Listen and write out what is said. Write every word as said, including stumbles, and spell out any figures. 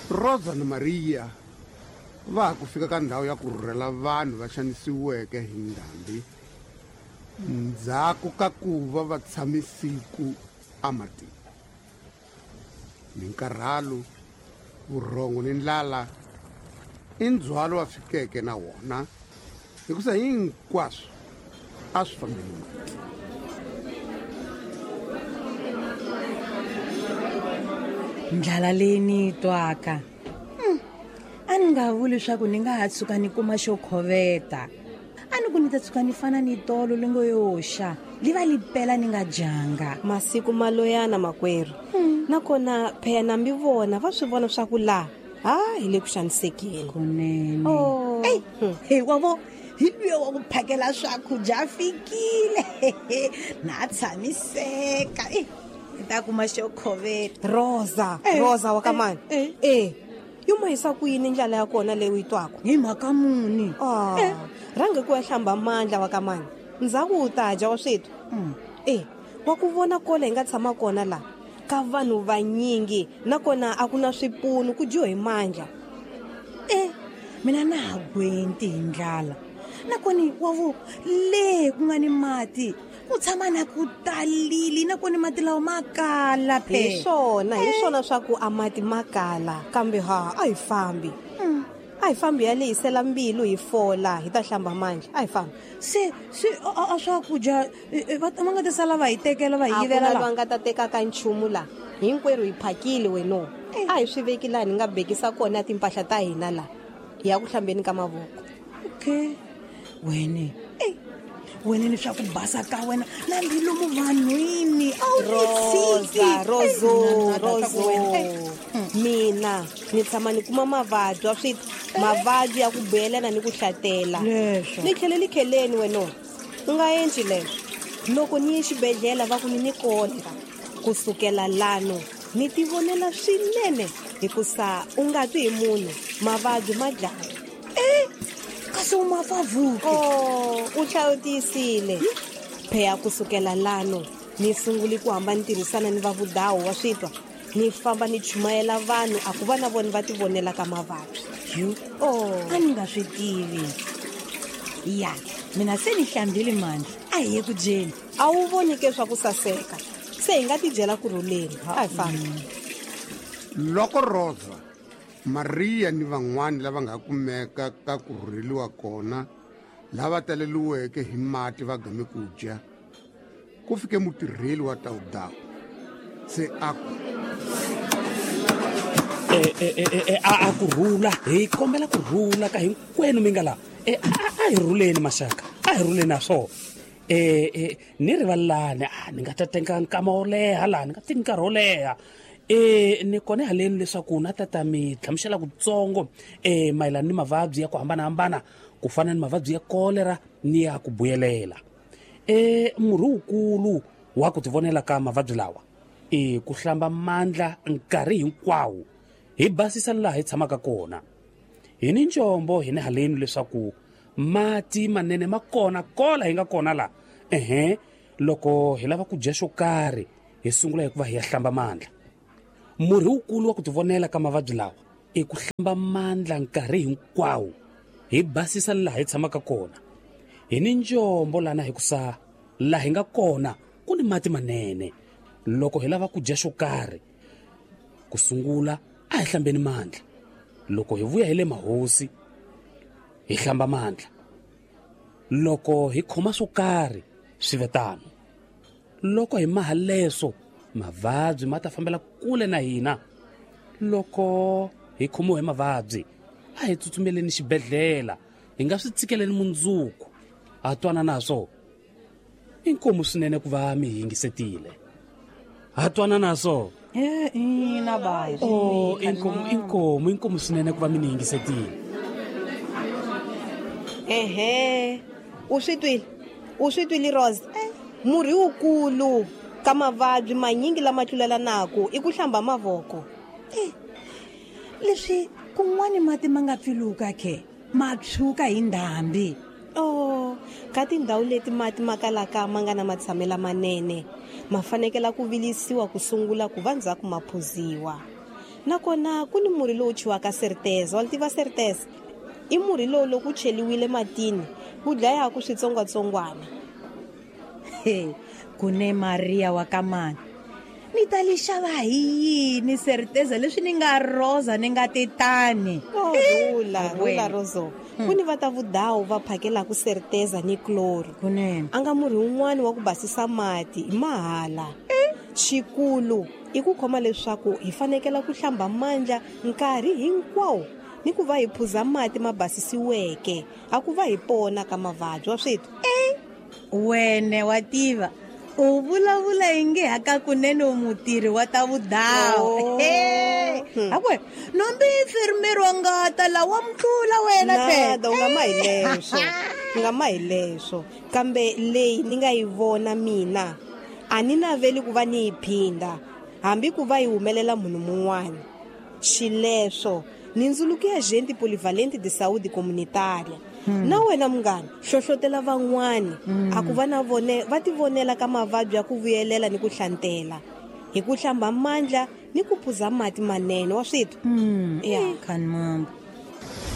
Rosa na Maria va ha ku fika ka ndhawu ya ku rhurhela vanhu va xanisiweke hi ndhambi ndzhaku ka ku va va tshame siku ematini. Minkarhalo, vurhongo ni ndlala i ndzhwalo wa fikeke na wona hikusa hinkwaswo a swi fambeni mati. Ndlala leyi ni yi twaka hmm. a ni nga vuli leswaku ni nga ha tshuka ni kuma xo khoveta, a ni ku ni ta tshuka ni fana ni tolo lingo yo xa li va li pela ni nga dyanga. Masiku maloyana makwerhu hmm. nakona pheya nambi vona va swi vona swa ku laha ha hi le ku xanisekeni kunene. Oh. Ey, hey, wa vo hi luya wa ku phakela swakudya a fikile na tshamiseka e ni ta kuma xo khoveta. Rosa eh, Rosa wa ka mani eh, eh. Yo mahisa ku yini ndlala ya kona leyi u yi twaka hi mhaka muni? Ah, eh. Rhange ku ya hlamba mandla wa ka mani ndzhaku u ta dya wa swethu mm. eh wa ku vona kola hi nga tshama kona la ka vanhu vanyingi nakona a ku na swipunu ku dyiwa hi mandla. Eh mina na ha gwenti hi ndlala nakoni wa vo le ku nga ni mati ku tshama na ku talili nakoni mati lawa ma kala phe. Hi swona hi swona swa ku a mati ma kala kambe ha a hi fambi mm. a hi fambi ya lehisela mbilu hi fola hi ta hlamba mandla a hi fambi. Se se a swakudya va va nga ta sala va hi tekela va hi yivela la va nga ta teka ka nchumu la hinkwerhu hi phakile weno a hi swi veki laha ni nga bekisa kona timpahla ta hina la hi ya ku hlambeni ka mavoko. Okay wene ey wena ni swa ku basa ka wena na mbilu vanhwini a wu Rosa Roso Roso mina ni tshama ni kuma mavabyi wa swi mavabyi ya ku buyelana ni ku hlatela ni tlhele ni kheleni wena u nga endli leswo loko ni ye xibedhlele va ku ni ni kolera kusukela lano ni tivonela swinene hikusa u nga twi hi munhu mavabyi ma dlaya. Eh kasi u mafavuki. Oh u hlawutisile pheya kusukela lano ni sunguli ku hamba ni tirhisana ni vavudawu wa switwa ni famba ni chumayela vanhu a ku va na vona va tivonela ka mavabyi. Yo oh a ni nga swi tivi ya mina se ni hlambile mandla a hi ye ku dyeni. A wu voni ke swa ku saseka se hi nga tidyela ku rhuleni a hi fambi. Loko Rosa, Maria ni van'wani lava nga kumeka ka ku rhurheliwa kona lava taleliweke hi mati va game ku dya ku fike mutirheli wa tawudawu se a ku e e e a a ku rhula hi kombela ku rhula ka hinkwenu mi nga la e a hi rhuleni maxaka a hi rhuleni na swona e e ni rivalani a ni nga ta teka nkama wo leha laha ni nga teki nkarhi wo leha e ni kona haleni leswaku na tata mi hlamusela kutsongo e mayelana ni mavabyi ya ku hambanahambana ku fana ni mavabyi ya kolera ni ya ku buyelela. E murhi wukulu wa ku tivonela ka mavabyi lawa i ku hlamba mandla nkarhi hinkwawo hi basisa laha hi tshamaka kona. Hi ni njombo hi ni haleni leswaku mati manene ma kona kola hi nga kona la ehe loko hi lava ku dya xo karhi hi sungula hi ku va hi ya hlamba mandla. Murhi wukulu wa ku tivonela ka mavabyi lawa i ku hlamba mandla nkarhi hinkwawo hi basisa laha hi tshamaka kona. Hi ni njombo lana hikusa laha hi nga kona ku ni mati manene loko hi lava ku dya xo karhi ku sungula a hi hlambeni mandla loko hi vuya hi le mahosi hi hlamba mandla loko hi khoma swo karhi swi ve tano loko hi maha leswo mavabyi ma ta fambela kule na hina loko hi khomiwe hi mavabyi a hi tsutsumeleni xibedhlele hi nga swi tsikeleni mundzuku ha twana naswo inkomu swinene ku va mi yingisetile ha twana naswo eh ina bayi oh inkomu inkomu inkomu swinene ku va mi ni yingisetile. Ehe u swi twile u swi twile Rose murhi wukulu ka mavabyi manyingi lama tlulelanaka i ku hlamba mavoko. Eh leswi kun'wani mati ma nga pfiluka ke ma tshwuka hi ndhambi. Oh ka tindhawu leti mati ma kalaka ma nga na matshamelo manene ma fanekela ku vilisiwa ku sungula ku va ndzhaku ma phuziwa. Nakona ku ni murhi lowu chiwaka Certeza, wa tiva Certeza? I murhi lowu loko wu cheliwile matini wu dlayaka switsongwatsongwana. He, kune Maria wa kamani. Ni ta li xava hi yini Certeza leswi ni nga Rosa ni nga tetani? Oh, rula, rula Roso. Ku ni va ta vudawu va phakelaka Certeza ni chloro. Kunene. A nga murhi wun'wani wa ku basisa mati hi mahala. Xikulu i ku khoma leswaku hi fanekela ku hlamba mandla nkarhi hinkwawo ni ku va hi phuza mati ma basisiweke, a ku va hi pona ka mavabyi wa switwa. Wene wa tiva u vulavula inge hakakunene u mutirhi wa ta vudawu. Akwe nombi enfermeiro wa ngata la wa mtlula wena phela. Nada, u nga ma hi leswo, u nga ma hi leswo. Kambe leyi ni nga yi vona mina a ni naveli ku va ni yi phinda, hambi ku va yi humelela munhu mun'wana. Xileswo ni ndzuluko ya Agente Polivalente de Saúde Comunitária. Na wena munghana, hlohlotela van'wani a ku va na vone va tivonela ka mavabyi ya ku vuyelela ni ku hlantela hi ku hlamba mandla ni ku phuza mati manene wa switwa. Ya khanimambo.